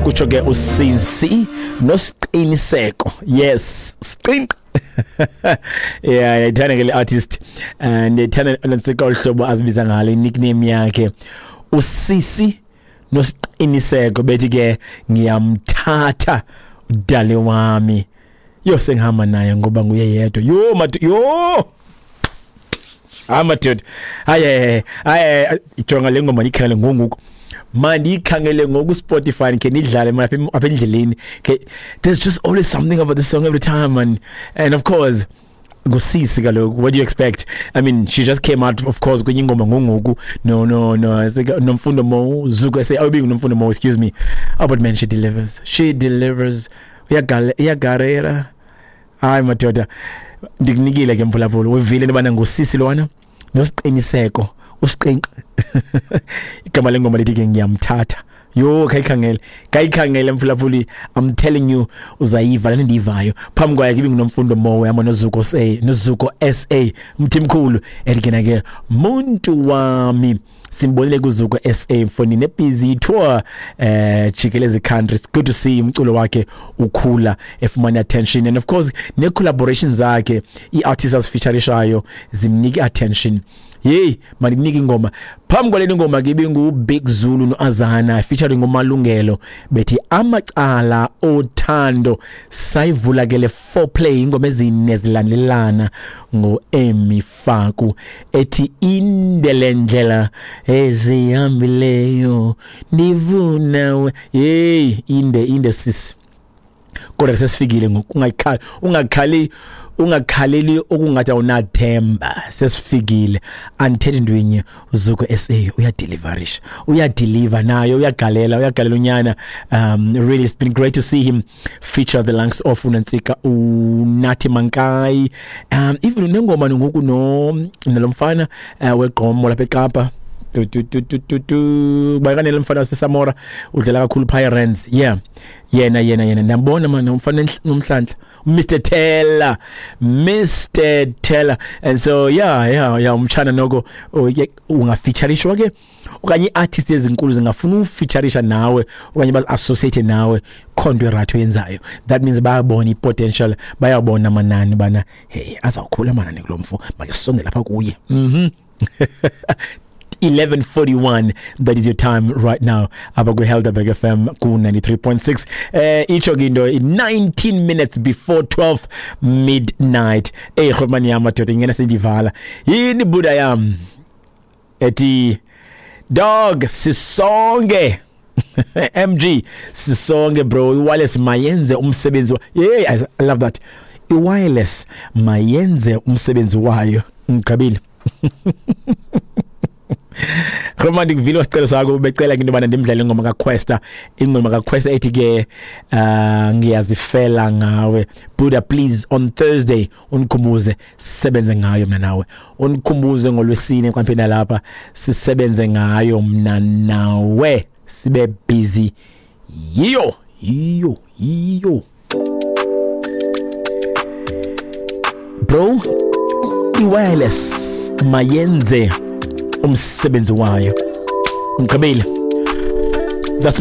Kutsho ke uSinsi noSiqiniseko. Yes, Siqinq. Yeah, ndiyayithanda ke le artist. Ndiyayithanda nantsika olu hlobo azibiza ngalo, nickname yakhe. Usisi noSiqiniseko bethi ke ngiyamthatha udale wami. Yo, sengihamba naye ngoba nguye yedwa. Yo mad, yo. Hayi madoda, hayi hayi, jonga le ngoma, ndiyikhangele ngongoku, mandiyikhangele ngoku Spotify khe nidlale man apha endleleni. Okay, there's just always something about the song every time, man. And of course ngusisi kaloku, what do you expect? I mean, she just came out, of course, kwenye ingoma ngongoku no Nomfundo Mo Zuko say awubi Nomfundo Mo, excuse me. Oh, but man, she delivers, she delivers. Uyagale, uyagarera. Hayi madoda, ndikunikile ke mphulaphula, uvile into yobana ngusisi lona noSiqiniseko, uSiqinqi. Igama lengoma lithi ke ngiyamthatha. Yho, khayikhangele, khayikhangele mphulaphuli, I'm telling you, uzayiva le ndiyivayo. Phambi kwayo ke ibinguNomfundo Mowe hamba noZuko SA, noZuko SA Mthimkhulu, elikena ke muntu wami. Simbonile kuZuko SA mfoni nebusy tour jikeleze country. It's good to see umculo wakhe ukhula, efumana attention, and of course ne collaborations zakhe, ii-artists azifeaturishayo zimnika attention. Hey, mandikunika ingoma. Phambi kwale ngoma ke ibingu-Big Zulu no-Azana featuring uMalungelo, bethi amacala othando. Sayivula ke le foreplay, ingoma ezine zilandelana ngo-Emi Faku, ethi indele ndlela ezihambileyo ndivuna we. Hey, inde inde sisi, kodwa sesifikile ngoku. Ungakhali, ungakhali, ungakhaleli okungathi awunathemba, sesifikile. Andithethi into inye, uZuko SA uyadeliverisha, uyadeliver nayo, uyagalela, uyagalela unyana. Really, it's been great to see him feature the likes of uNantsika, uNathi Mankayi, even nengoma ngoku no nalomfana wegqomo lapha eKapa, tu tu tu tu tu tu, bakanele mfana waseSamora, udlala kakhulu Pirates. Yeah, yena yena yena, ndiyambona man, umfana nomhlanhla, Mr Teller, Mr Teller. And so yeah, umtshana noko ungafeaturishwa ke, okanye ii-artist ezinkulu zingafuna ufeaturisha nawe okanye bazi-associate nawe, khonto irathi oyenzayo. That means bayabona i-potential, bayabona amanani bana hey, azawukhula amanani kulo mfo, make sisondele lapha kuye. 11:41, that is your time right now apha kwi-Helderberg FM ku-93.6. Itsho ke into 19 minutes before 12 midnight. Ey rhomani yam madoda, ingena sendivala yini buda yam ethi dog sisonke MG sisonke bro, i-wireless mayenze umsebenzi. Yeah, I love that, i-wireless mayenze umsebenzi wayo. Ngigqibile. Roma, ndikuvile wasicelo sakho, ubecela into yobana ndimdlale ingoma kaQuesta, ingoma kaQuesta ethi ke ngiyazifela ngawe. Buddha, please, on Thursday undikhumbuze sisebenze ngayo mna nawe, undikhumbuze ngolwesine xa mphinda lapha sisebenze ngayo mna nawe, sibe busy yiyo yiyo yiyo. Bro, i-wireless mayenze umsebenzi wayo. Ngigqibile.